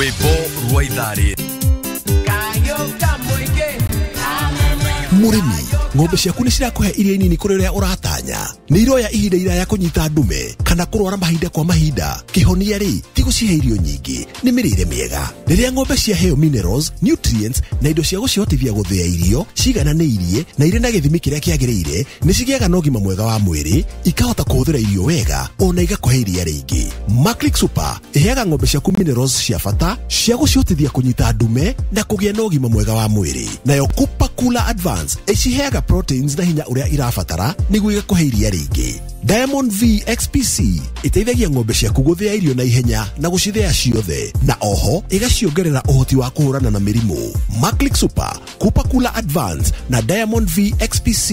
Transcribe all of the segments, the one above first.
Rwĩmbo rwa itharĩ. Mũrĩmi, ng'ombe ciaku nĩ cirakũhe iria nini kũrĩ ũrĩa ũratanya. Nĩ iroya ihinda iraya kũnyita ndume kana kũrwara mahinda kwa mahinda. Kĩhonia rĩ, ti gũcihe irio nyingĩ, nĩ mĩrĩre mĩega. Rĩrĩa ng'ombe ciaheo minerals, nutrients na indo cia gũcihotithia gũthĩa irio cigananĩirie na irĩ na gĩthimi kĩrĩa kĩagĩrĩire, nĩ cigĩaga na ũgima mwega wa mwĩrĩ, ikahota kũhũthĩra irio wega ona igakũhe iria rĩingĩ. Maclick Super ĩheaga ng'ombe ciaku minerals cia bata cia gũcihotithia kũnyita ndume na kũgĩa na ũgima mwega wa mwĩrĩ. Nayo Cooper Cooler Advance ĩciheaga proteins na hinya ũrĩa irabatara nĩguo igakũhe iria rĩingĩ. Diamond V XPC ĩteithagia ng'ombe ciaku gũthĩa irio na ihenya na gũcithĩa ciothe, na oho ĩgaciongerera ũhoti wa kũhũrana na mĩrimũ. Maclick Super, Cooper Cooler Advance na Diamond V XPC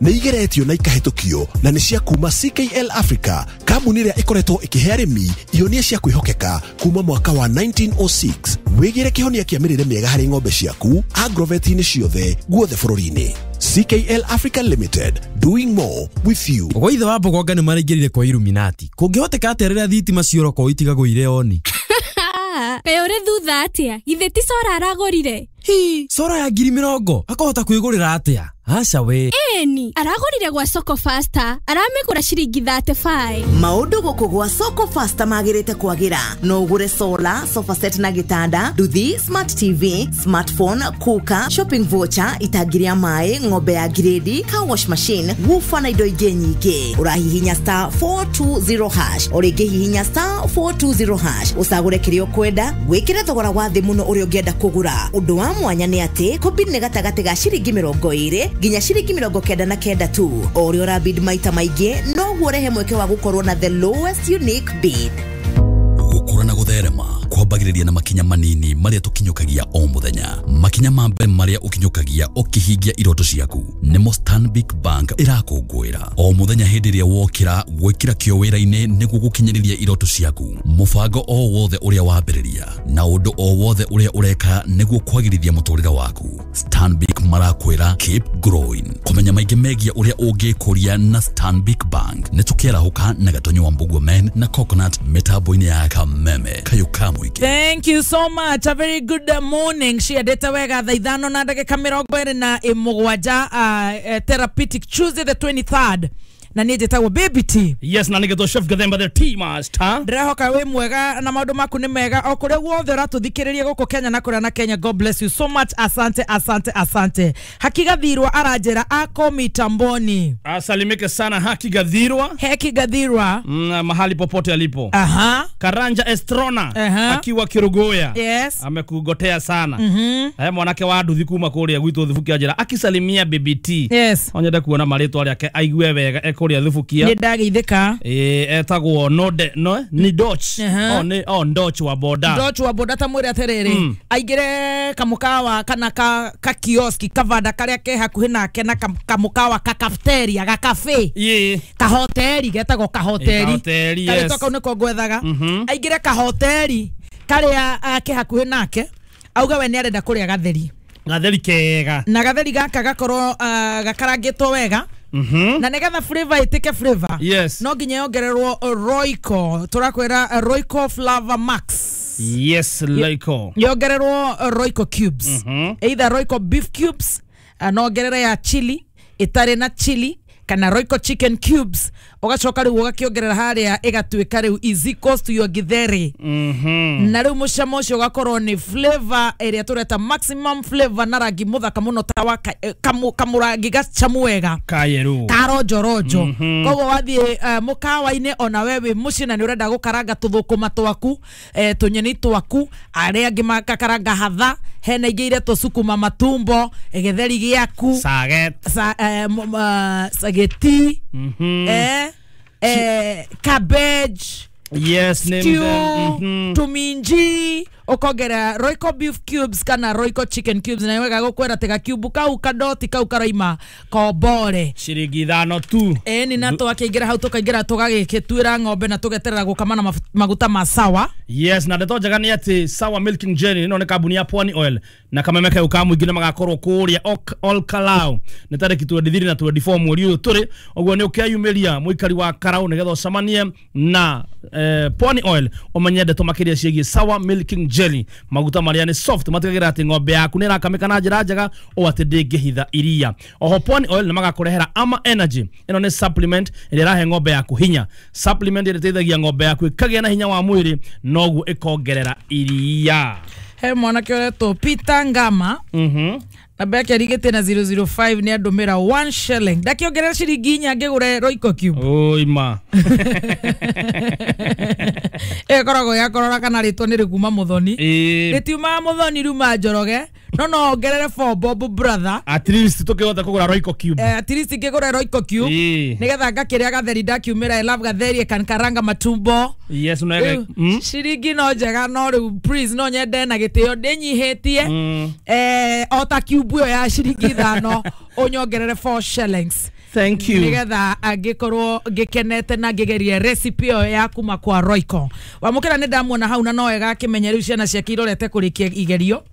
nĩ igeretio na ikahĩtũkio na nĩ cia kuma CKL Africa, kambuni ĩrĩa ĩkoretwo ĩkĩhe arĩmi ihonia cia kwĩhokeka kuma mwaka wa 1906. Wĩgĩre kĩhonia kĩa mĩrĩre mĩega harĩ ng'ombe ciaku agrovet-inĩ ciothe guothe bũrũri-inĩ. CKL Africa Limited, doing more with you. Gwa ithe wa Mbogonga nĩ maraingĩrire kwa Illuminati. Kũngĩhoteka atĩa rĩrĩa thitima ciora itigagwo irĩ oni? Kaĩ ũrĩ thutha atĩa? Githĩ ti cora aragũrire? Hi, cora ya 20,000 akahota kwĩgũrĩra atĩa? Aca we. Ĩni, aragũrire gwa Soko Faster, aramĩgũra ciringi 35. Maũndũ gũkũ gwa Soko Faster magĩrĩte kwagĩra. No ũgũre solar, sofa set na gĩtanda, nduthi, smart TV, smartphone, cooker, shopping voucher, itangi rĩa maĩ, ng'ombe ya grade, car wash machine, woofer na indo ingĩ nyingĩ. Ũrahihinya star 420 hash, o rĩngĩ hihinya star 420 hash, ũcagũre kĩrĩa ũkwenda, wĩkĩre thogora wa thĩ mũno ũrĩa ũngĩenda kũgũra. Ũndũ wa mwanya nĩ atĩ kũbid nĩ gatagatĩ ga ciringi 20 nginya ciringi 99 tu. O ũrĩa ũrabid maita maingĩ noguo ũrehe mweke wa gũkorwo na the lowest unique bid. Gũkũra na gũtherema kwambagĩrĩria na makinya manini marĩa tũkinyũkagia o mũthenya. Makinya ma mbere marĩa ũkinyũkagia ũkĩhingia iroto ciaku nĩmo Stanbic Bank ĩrakũngũĩra o mũthenya. Hĩndĩ ĩrĩa wokĩra gwĩkĩra kĩo wĩra-inĩ nĩguo gũkinyĩrĩria iroto ciaku, mũbango o wothe ũrĩa wambĩrĩria na ũndũ o wothe ũrĩa ũreka nĩguo kwagĩrithia mũtũrĩre waku, Stanbic marakwĩra keep growing. Kũmenya maingĩ megiĩ ũrĩa ũngĩkũria na Stanbic Bank nĩ tũkĩarahũka na Gatonyo wa Mbugua Men na Coconut mĩtambo-inĩ ya Kameme Kayũ ka mũingĩ. Thank you so much. A very good morning. Ciendete wega thaa 5 na ndagĩka 27, Therapeutic Tuesday the 23rd. Na niĩ njĩtagwo Baby T. Yes, na nĩgetwo Chef Gathemba the Tea Master. Ndĩrehoka wĩ mwega na maũndũ maku nĩ mega o kũrĩa guothe ũratũthikĩrĩria gũkũ Kenya na kũrĩa na Kenya. God bless you so much. Asante, asante, asante. Haki Gathirwa aranjĩra ako mitamboni. Asalimike sana Haki Gathirwa. Haki Gathirwa. Mahali popote alipo. Aha. Karanja Estrona. Aha. Akiwa Kirugoya. Yes. Amekugotea sana. Mm-hmm. Haya mwanake wa nduthi kuma kũrĩa gwitũ Thubukia njĩra akisalimia Baby T. Yes. Onyende kuona marĩtwa rĩake aigue wega ekũrĩa Thubukia. Nĩ ndageithĩka. Etagwo Node no ni Doch. Oh ni oh Doch wa boda. Doch wa boda ta mwĩre atĩrĩrĩ. Aingĩre kamukawa kana ka kioski kavanda karĩa ke hakuhĩ nake na kamukawa ka cafeteria ga cafe. Kahoteri getagwo kahoteri. Kahoteri, yes. Karĩtwa kau nĩko ngwethaga. Aingĩre kahoteri karĩa ke hakuhĩ nake auge we nĩ arenda kũrĩa gatheri. Gatheri kega. Na gatheri gaka gakorwo gakarangĩtwo wega. Na nĩgetha flavor ĩtĩke flavor. Yes. No nginya yongererwo Royco. Tũrakwĩra Royco Flavor Max. Yes, Royco. Yongererwo Royco cubes. Either Royco beef cubes, no ongerere ya chili, ĩtarĩ na chili, kana Royco chicken cubes. Ũgacoka rĩu ũgakĩongerera harĩa ĩgatuĩka rĩu easy cost to your githeri. Na rĩu mũcamo ũcio ũgakorwo nĩ flavor ĩrĩa tũreta maximum flavor na rangi mũthaka mũno ta wa kamũrangi gacamu wega kayeru karonjoronjo. Koguo wathiĩ mũkawa-inĩ ona we wĩ mũciĩ na nĩ ũrenda gũkaranga tũthũkũma twaku, tũnyeni twaku, arĩa angĩ makakaranga hatha, hena ingĩ iretwo sukuma matumbo, gĩtheri gĩaku, sageti, cabbage, yes, name stew, them. Tuminji, ukongera Royco beef cubes kana Royco chicken cubes, na wega gukwera tega cube kau kadoti kau karaima kombore ciringi 5 tu. Ni na twakĩingĩra hau tũkaingĩra tũgagĩtuĩra ng'ombe na tũgeterera gũkama na maguta ma sawa. Yes, na ndeto njega nĩ atĩ Sawa Milking Jelly ĩno nĩ kambuni ya Pwani Oil na kameme kau ka mũingĩ nĩ magakorwo kũrĩa Olkalau nĩ tarĩki 23 na 24 mweri ũyũ tũrĩ. Ũguo nĩ ũkeyumĩria mũikari wa Karau nĩgetha ũcemanie na Pwani Oil ũmenye ndeto makĩria ciĩgiĩ Sawa Milking Jelly, maguta marĩa nĩ soft matigagĩrĩra atĩ ng'ombe yaku nĩ ĩrakamĩka na njĩra njega o atĩ ndĩngĩhitha iria. Oho Pwani Oil nĩ magakũrehera Ama Energy, ĩno nĩ supplement ĩrĩa ĩrahe ng'ombe yaku hinya, supplement ĩrĩa ĩteithagia ng'ombe yaku ĩkagĩa na hinya wa mwĩrĩ noguo ĩkongerera iria. He mwanake ũretwo Peter Ngama namba yake arigĩte na 005 nĩ andũmĩra 1 shilling ndakĩongerera ciringi inya ngĩgũre Royco cube. Oi ma. Ĩkoragwo ya kũrora kana rĩtwa nĩ rĩkuma Mũthoni. Rĩtiumaga Mũthoni, riuma Njoroge, no no ongerere 4 bob, brother. At least tũkĩhota kũgũra Royco cube. At least ngĩgũre Royco cube nĩgetha ngakĩrĩa gatheri ndakiumĩra. I love gatheri kankaranga matumbo. Yes, no. Rĩu, ciringi no njega, no rĩu please no nyende na gĩtĩo ndĩnyihĩtie o ta cube ĩyo ya ciringi 5, ũnyongerere 4 shillings Thank you. Nigetha angĩkorwo ngĩkenete na ngĩgerie recipe ĩyo ya kuma kwa Royco. Wamũkĩra nĩ ndamuona hau na no wega akĩmenya rĩu ciana ciake irorete kũrĩkia igerio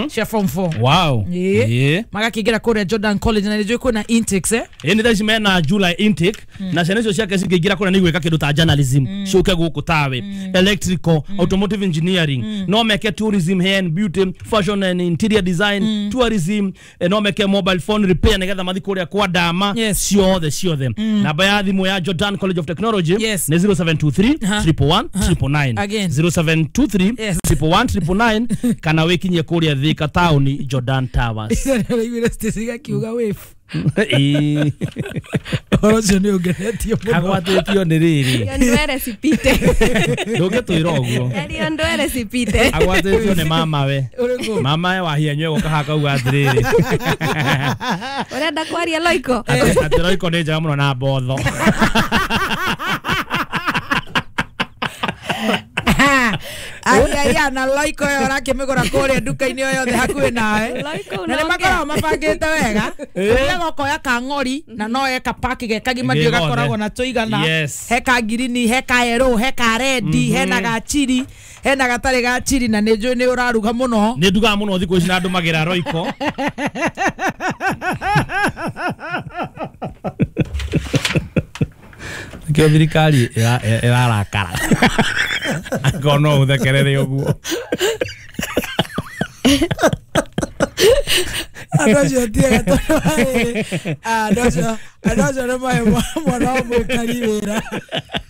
cia form 4. Magakĩingĩra kũrĩa Jordan College na nĩ njũĩ kwĩna intakes. Ĩ nĩ thaa ici mena July intake na ciana icio ciake cingĩingĩra kũrĩa nĩ igwĩka kĩndũ ta journalism, ciũke gũkũ tawe electrical, automotive engineering, no meke tourism, hair and beauty, fashion and interior design, tourism, no meke mobile phone repair nĩgetha mathi kũrĩa kwa Dama. Ciothe ciothe, namba ya thimũ ya Jordan College of Technology nĩ 0723 111 999. Again. 0723 111 999 kana wĩkinyie kũrĩa Thika taũni, Jordan Towers. Iraiguire Stacy gakiuga wave. Ĩĩ. Ũhoro ũcio nĩ ũngenetie mũno. Agwatĩtio nĩ rĩrĩ. Ndwere cipite. Ndũngĩtwĩra ũguo. Yario ndwere cipite. Agwatĩtio nĩ mamawe. Ũrĩkũ? Mamawe wahianywe gũka hakauga atĩrĩrĩ, Ũrenda kwaria Loiko? Atĩ Royco nĩ njega mũno na mbotho. Aiaia na Loiko ĩyo ũrakĩmĩgũra kũrĩa nduka-inĩ o yothe hakuhĩ nawe. Loiko na nĩ unaongea. Makoragwo mabangĩte wega, ũthiaga ũkoya kang'ori na no eka paki ge kagima Gĩ ndiũ gothe. Gakoragwo na tũigana. He ka ngirini, he ka yellow, he ka redi, hena ga chili, hena gatarĩ ga chili, na nĩ njũĩ nĩ ũraruga mũno. Nĩ ndugaga mũno thikũ ici na ndũmagĩra Royco. Nĩkĩo thirikari ĩrarakara angĩkorwo no ũthekerere ũguo. Andũ acio tiega tondũ wa rĩrĩ, andũ acio nĩ mahe mwana wa mũikari wĩra.